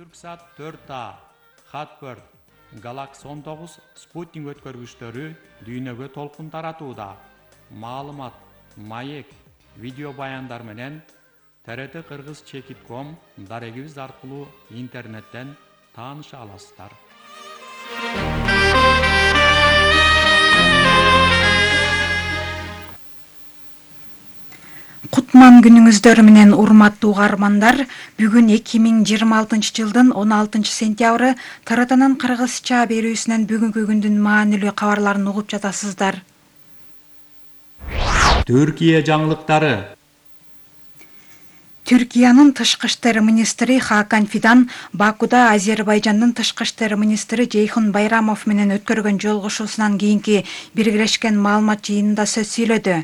Түрксат 4A, Хатберт, Галакс 19 спутник өткөргүчтөрү дүйнөгө толкун таратууда. Маалымат, маек, видео баяндар менен TRT Кыргыз Чекит.com дарегибиз аркылуу интернеттен тааныша аласыздар. Кутман күнүңүздөр менен урматтуу угармандар, бүгүн 2026 жылдын 16 сентябры TRTнын кыргызча берүүсүнөн бүгүнкү күндүн маанилүү кабарларын угуп жатасыздар. Түркия жаңылыктары. Түркиянын тышкы иштер министри Хакан Фидан Бакуда Азербайжандын тышкы иштер министри Жейхун Байрамов менен өткөргөн жолугушуусунан кийинки биргелешкен маалымат жыйынында сөз сүйлөдү.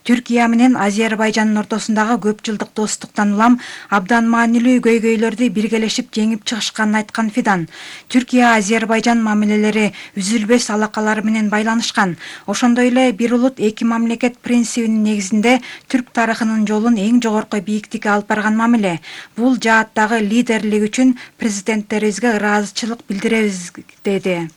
Түркия менен Азербайжандын ортосундагы көп жылдык достуктан улам абдан маанилүү көйгөйлөрдү биргелешип жеңип чыгышканын айткан Фидан, Түркия Азербайжан мамилелери үзүлбөс алакалар менен байланышкан. Ошондой эле бир улут эки мамлекет принцибинин негизинде түрк тарыхынын жолун эң жогорку бийиктикке алып барган мамиле. Бул жааттагы лидерлик үчүн президенттерибизге ыраазычылык билдиребиз, деди.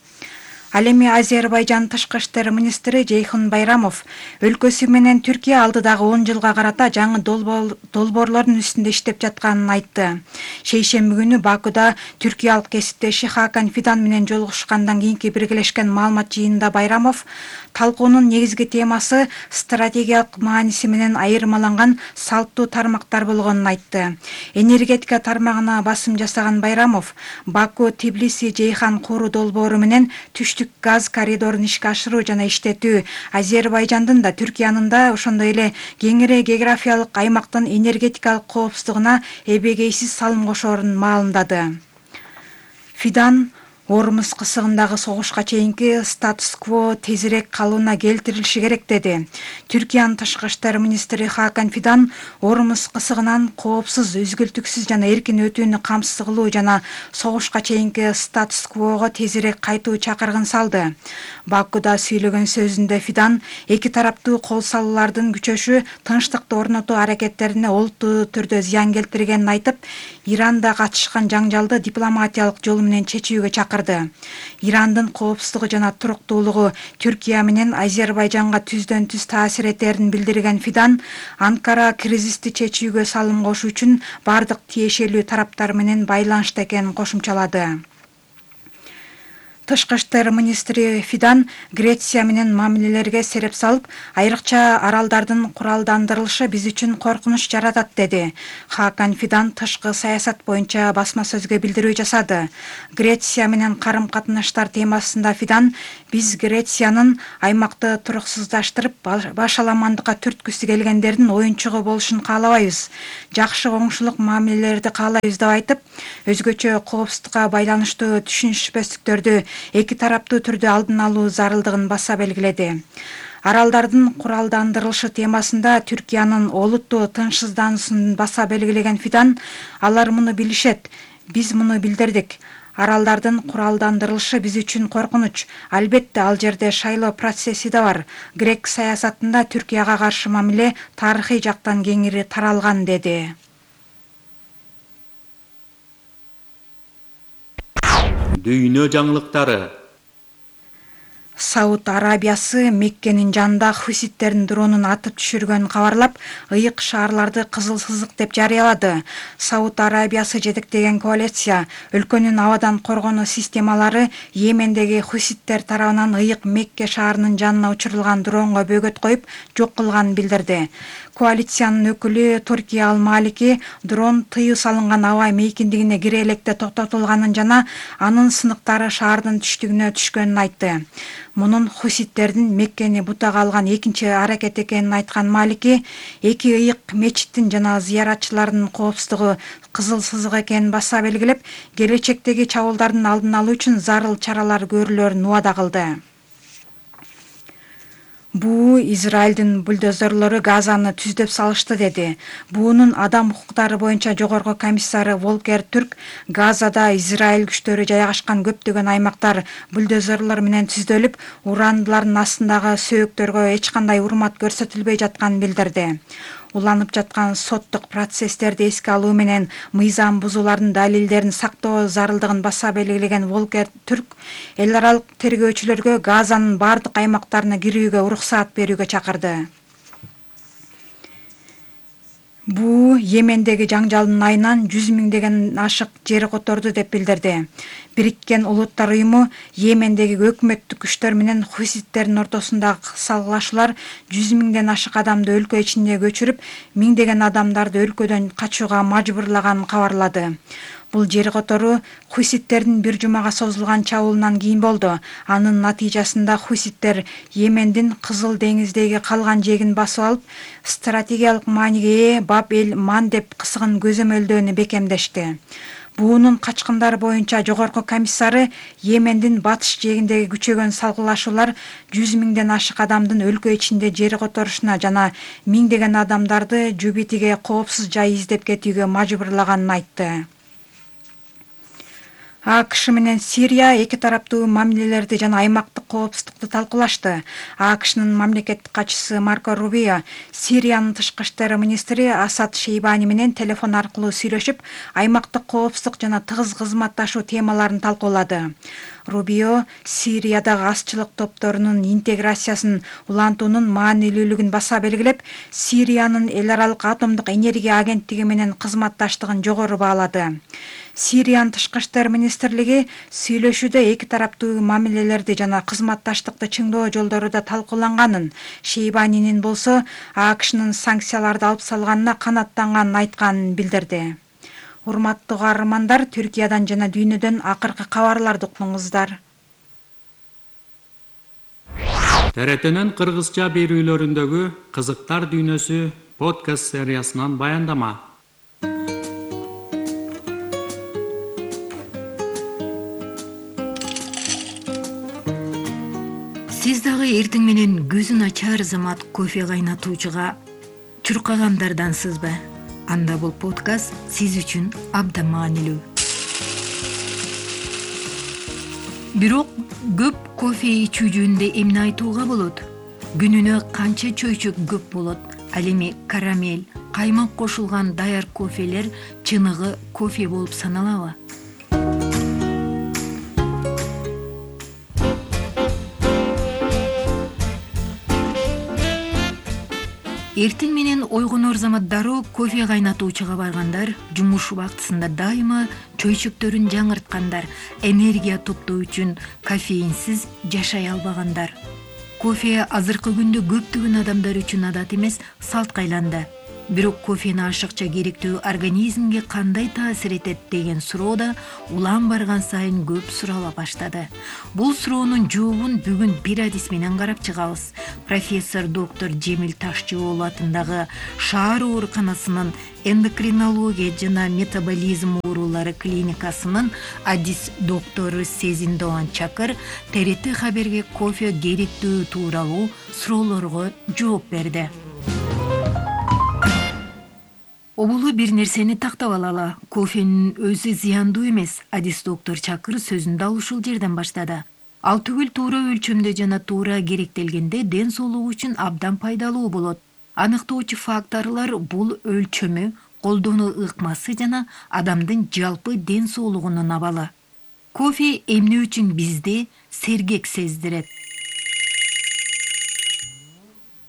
Ал эми Азербайжан тышкы иштер министри Жейхун Байрамов өлкөсү менен Түркия алдыдагы 10 жылга карата жаңы долбоорлордун үстүндө иштеп жатканын айтты. Шейшемби күнү Бакуда түркиялык кесиптеши Хакан Фидан менен жолугушкандан кийинки биргелешкен маалымат жыйынында Байрамов талкуунун негизги темасы стратегиялык мааниси менен айырмаланган салттуу тармактар болгонун айтты. Энергетика тармагына басым жасаган Байрамов Баку-Тбилиси-Жейхан куруу долбоору менен түштүк газ коридорун ишке ашыруу жана иштетүү Азербайжандын да Түркиянын да ошондой эле кеңири географиялык аймактын энергетикалык коопсуздугуна эбегейсиз салым кошоорун маалымдады. Фидан Ормуз кысыгындагы согушка чейинки статус-кво тезирээк калыбына келтирилиши керек, деди. Түркиянын тышкы иштер министри Хакан Фидан Ормуз кысыгынан коопсуз, үзгүлтүксүз жана эркин өтүүнү камсыз кылуу жана согушка чейинки статус-квого тезирээк кайтуу чакырыгын салды. Бакуда сүйлөгөн сөзүндө Фидан эки тараптуу кол салуулардын күчөшү тынчтыкты орнотуу аракеттерине олуттуу түрдө зыян келтиргенин айтып, Иранда катышкан жаңжалды дипломатиялык жол менен чечүүгө чакырды. Ирандын коопсуздугу жана туруктуулугу Түркия менен Азербайжанга түздөн-түз таасир этерин билдирген Фидан, Анкара кризисти чечүүгө салым кошуу үчүн бардык тиешелүү тараптар менен байланышта экенин кошумчалады. Тышкы иштер министри Фидан Греция менен мамилелерге сереп салып, айрыкча аралдардын куралдандырылышы биз үчүн коркунуч жаратат, деди. Хакан Фидан тышкы саясат боюнча басма сөзгө билдирүү жасады. Греция менен карым-катнаштар темасында Фидан биз Грециянын аймакты туруксуздаштырып, башаламандыкка түрткүсү келгендердин оюнчугу болушун каалабайбыз. Жакшы коңшулук мамилелерди каалайбыз деп айтып, өзгөчө коопсуздукка байланыштуу түшүнүшпөстүктөрдү эки тараптуу түрдө алдын алуу зарылдыгын баса белгиледи. Аралдардын куралдандырылышы темасында Түркиянын олуттуу тынчсыздануусун баса белгилеген Фидан, алар муну билишет, биз муну билдирдик. Аралдардын куралдандырылышы биз үчүн коркунуч. Албетте ал жерде шайлоо процесси да бар. Грек саясатында Түркияга каршы мамиле тарыхый жактан кеңири таралган, деди. Дүйнө жаңылыктары. Сауд Арабиясы Меккенин жанында хуситтердин дронун атып түшүргөнүн кабарлап, ыйык шаарларды кызыл сызык деп жарыялады. Сауд Арабиясы жетектеген коалиция өлкөнүн абадан коргонуу системалары Йемендеги хуситтер тарабынан ыйык Мекке шаарынын жанына учурулган дронго бөгөт коюп, жок кылганын билдирди. Коалициянын өкүлү Туркия Ал-Малики дрон тыюу салынган аба мейкиндигине кире электе токтотулганын жана анын сыныктары шаардын түштүгүнө түшкөнүн айтты. Мунун хуситтердин Меккени бутага алган экинчи аракет экенин айткан Малики, эки ыйык мечиттин жана зыяратчылардын коопсуздугу кызыл сызык экенин баса белгилеп, келечектеги чабуулдардын алдын алуу үчүн зарыл чаралар көрүлөрүн убада кылды. Буу Израилдин бульдозерлору Газаны түздөп салышты, деди. Буунун адам укуктары боюнча жогорку комиссары Волкер Түрк Газада Израиль күчтөрү жайгашкан көптөгөн аймактар бульдозерлор менен түздөлүп, урандылардын астындагы сөөктөргө эч кандай урмат көрсөтүлбөй жатканын билдирди. уланып жаткан соттук процесстерди эске алуу менен мыйзам бузуулардын далилдерин сактоо зарылдыгын баса белгилеген Волкер Түрк эл аралык тергөөчүлөргө Газанын бардык аймактарына кирүүгө уруксаат берүүгө чакырды. Буу Йемендеги жаңжалдын айынан 100 миңдеген ашык жер которду деп билдирди. Бириккен Улуттар уюму Йемендеги өкмөттүк күчтөр менен хуситтердин ортосундагы салгылашуулар 100 миңден ашык адамды өлкө ичине көчүрүп, миңдеген адамдарды өлкөдөн качууга мажбурлаганын кабарлады. Бул жер котору хуситтердин бир жумага созулган чабуулунан кийин болду. Анын натыйжасында хуситтер Йемендин Кызыл деңиздеги калган жегин басып алып, стратегиялык мааниге ээ Баб-эль-Мандеб кысыгын көзөмөлдөөнү бекемдешти. Буунун качкындары боюнча жогорку комиссары Йемендин батыш жегиндеги күчөгөн салгылашуулар 100 миңден ашык адамдын өлкө ичинде жер которушуна жана миңдеген адамдарды Жубитиге коопсуз жай издеп кетүүгө мажбурлаганын айтты. АКШ менен Сирия эки тараптуу мамилелерди жана аймактык коопсуздукту талкуулашты. АКШнын мамлекеттик катчысы Марко Рубио Сириянын тышкы иштер министри Асад Шейбани менен телефон аркылуу сүйлөшүп, аймактык коопсуздук жана тыгыз кызматташуу темаларын талкуулады. Рубио Сириядагы азчылык топторунун интеграциясын улантуунун маанилүүлүгүн баса белгилеп, Сириянын эл аралык атомдук энергия агенттиги менен кызматташтыгын жогору баалады. Сириянын тышкы иштер министрлиги сүйлөшүүдө эки тараптуу мамилелерди жана кызматташтыкты чыңдоо жолдору да талкууланганын, Шейбанинин болсо АКШнын санкцияларды алып салганына канааттанганын айтканын билдирди. Урматтуу каармандар, Түркиядан жана дүйнөдөн акыркы кабарларды уктуңуздар. ТРТнын кыргызча берүүлөрүндөгү Кызыктар дүйнөсү подкаст сериясынан баяндама. Сиз дагы эртең менен көзүн ачар замат кофе кайнатуучуга чуркагандардансызбы? Анда бул подкаст сиз үчүн абдан маанилүү. Бирок көп кофе ичүү жөнүндө эмне айтууга болот? Күнүнө канча чөйчөк көп болот? Ал эми карамель, каймак кошулган даяр кофелер чыныгы кофе болуп саналабы? Эртең менен ойгонор замат дароо кофе кайнатуучуга баргандар, жумуш убактысында дайыма чөйчөктөрүн жаңырткандар, энергия топтоо үчүн кофеинсиз жашай албагандар. Кофе азыркы күндө көптөгөн адамдар үчүн адат эмес, салтка айланды. Бирок кофени ашыкча керектүү организмге кандай таасир этет деген суроо да улам барган сайын көп сурала баштады. Бул суроонун жообун бүгүн бир адис менен карап чыгабыз. Профессор доктор Жемил Ташчыбол атындагы шаар ооруканасынын эндокринология жана метаболизм оорулары клиникасынын адис доктору Сезин Doğan Çakır ТРТ хаберге кофе керектүү тууралуу суроолорго жооп берди. Обулу бир нерсени тактап алалы. Кофенин өзү зыяндуу эмес. Адис доктор Чакыр сөзүндө ал ушул жерден баштады. Ал түгүл туура өлчөмдө жана туура керектелгенде ден соолугу үчүн абдан пайдалуу болот. Аныктоочу факторлор бул өлчөмү, колдонуу ыкмасы жана адамдын жалпы ден соолугунун абалы. Кофе эмне үчүн бизди сергек сездирет?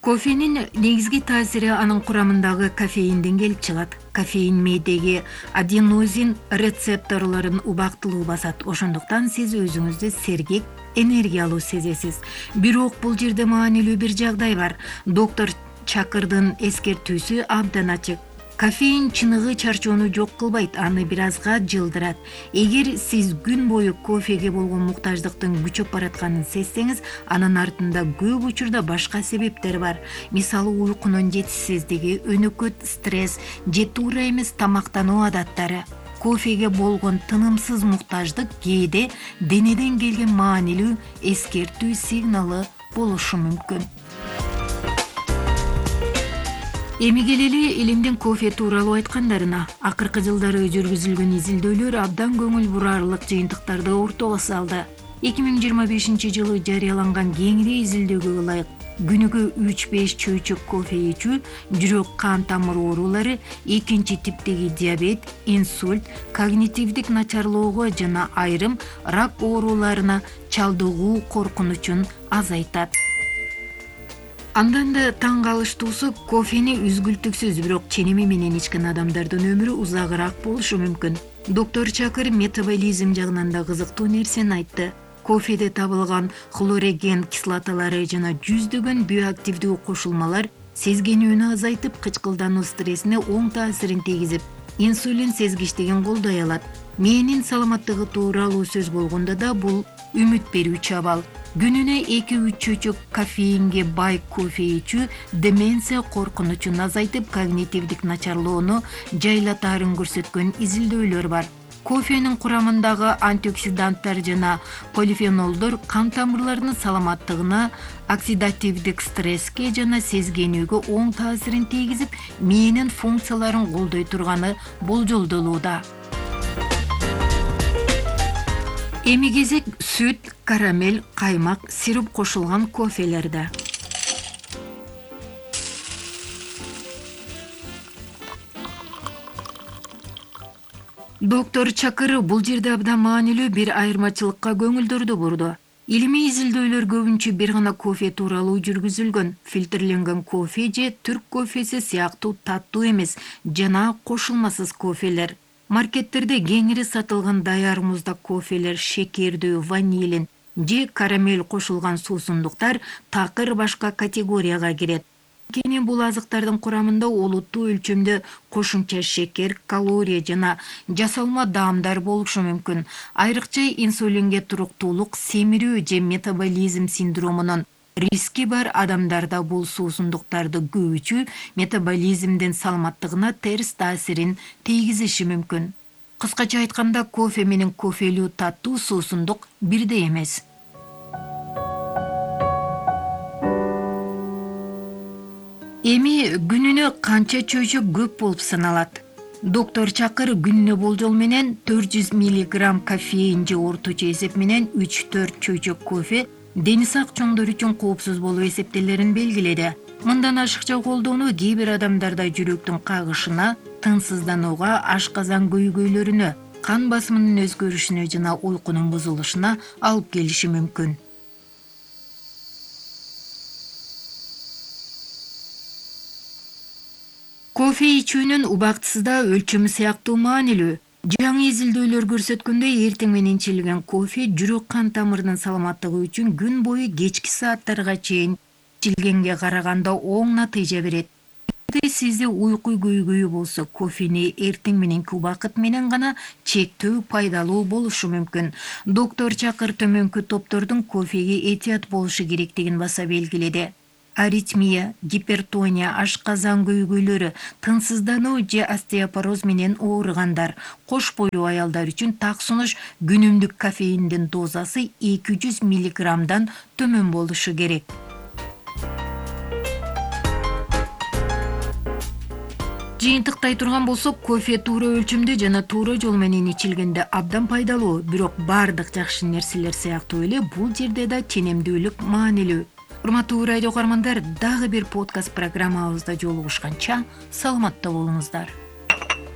Кофенин негизги таасири анын курамындагы кофеинден келип чыгат. Кофеин мээдеги аденозин рецепторлорун убактылуу басат. Ошондуктан сиз өзүңүздү сергек, энергиялуу сезесиз. Бирок бул жерде маанилүү бир жагдай бар. Доктор Чакырдын эскертүүсү абдан ачык. Кофеин чыныгы чарчоону жок кылбайт, аны бир азга жылдырат. Эгер сиз күн бою кофеге болгон муктаждыктын күчөп баратканын сезсеңиз, анын артында көп учурда башка себептер бар. Мисалы, уйкунун жетишсиздиги, өнөкөт стресс же туура эмес тамактануу адаттары. Кофеге болгон тынымсыз муктаждык кээде денеден келген маанилүү эскертүү сигналы болушу мүмкүн. Эми келели илимдин кофе тууралуу айткандарына. Акыркы жылдары жүргүзүлгөн изилдөөлөр абдан көңүл бурарлык жыйынтыктарды ортого салды. 2025 жылы жарыяланган кеңири изилдөөгө ылайык Күнүгө 3-5 чөйчөк кофе ичүү жүрөк кан тамыр оорулары, экинчи типтеги диабет, инсульт, когнитивдик начарлоого жана айрым рак ооруларына чалдыгуу коркунучун азайтат. Андан да таң калыштуусу кофени үзгүлтүксүз, бирок ченеми менен ичкен адамдардын өмүрү узагыраак болушу мүмкүн. Доктор Чакыр метаболизм жагынан да кызыктуу нерсени айтты. Кофеде табылган хлореген кислоталары жана жүздөгөн биоактивдүү кошулмалар сезгенүүнү азайтып, кычкылдануу стрессине оң таасирин тийгизип, инсулин сезгичтигин колдой алат. Мээнин саламаттыгы тууралуу сөз болгондо да бул үмүт берүүчү абал. Күнүнө 2-3 чөйчөк кофеинге бай кофе ичүү деменция коркунучун азайтып, когнитивдик начарлоону жайлатаарын көрсөткөн изилдөөлөр бар. Кофенин курамындагы антиоксиданттар жана полифенолдор кан тамырларынын саламаттыгына, оксидативдик стресске жана сезгенүүгө оң таасирин тийгизип, мээнин функцияларын колдой турганы болжолдолууда. Эми кезек сүт, карамель, каймак, сироп кошулган кофелерде. Доктор Чакыр бул жерде абдан маанилүү бир айырмачылыкка көңүлдөрдү бурду. Илимий изилдөөлөр көбүнчө бир гана кофе тууралуу жүргүзүлгөн. Фильтрленген кофе же түрк кофеси сыяктуу таттуу эмес жана кошулмасыз кофелер. Маркеттерде кеңири сатылган даяр муздак кофелер, шекердүү, ванилин же карамель кошулган суусундуктар такыр башка категорияга кирет. Кene бул азыктардын курамында олуттуу өлчөмдө кошумча шекер, калория жана жасалма даамдар болушу мүмкүн. Айрыкча инсулинге туруктуулук, семирүү же метаболизм синдромунун риски бар адамдарда бул суусундуктарды көп ичүү метаболизмдин саламаттыгына терс таасирин тийгизиши мүмкүн. Кыскача айтканда, кофе менен кофелүү таттуу суусундук бирдей эмес. Эми күнүнө канча чөйчөк көп болуп саналат? Доктор Чакыр күнүнө болжол менен 400 мг кофеин же орточо эсеп менен 3-4 чөйчөк кофе дени сак чоңдор үчүн коопсуз болуп эсептелерин белгиледи. Мындан ашыкча колдонуу кээ бир адамдарда жүрөктүн кагышына, тынчсызданууга, ашказан көйгөйлөрүнө, кан басымынын өзгөрүшүнө жана уйкунун бузулушуна алып келиши мүмкүн. Кофе ичүүнүн убактысы да өлчөмү сыяктуу маанилүү. Жаңы изилдөөлөр көрсөткөндөй, эртең менен ичилген кофе жүрөк кан тамырынын саламаттыгы үчүн күн бою кечки сааттарга чейин ичилгенге караганда оң натыйжа берет. Сизде уйку көйгөйү болсо, кофени эртең мененки убакыт менен гана чектөө пайдалуу болушу мүмкүн. Доктор Чакыр төмөнкү топтордун кофеге этият болушу керектигин баса белгиледи. Аритмия, гипертония, ашказан көйгөйлөрү, тынчсыздануу же остеопороз менен ооругандар, кош бойлуу аялдар үчүн так сунуш күнүмдүк кофеиндин дозасы 200 мг төмөн болушу керек. Жыйынтыктай турган болсок, кофе туура өлчөмдө жана туура жол менен ичилгенде абдан пайдалуу, бирок бардык жакшы нерселер сыяктуу эле бул жерде да ченемдүүлүк маанилүү. Урматтуу радио каармандар, дагы бир подкаст программабызда жолугушканча саламатта болуңуздар.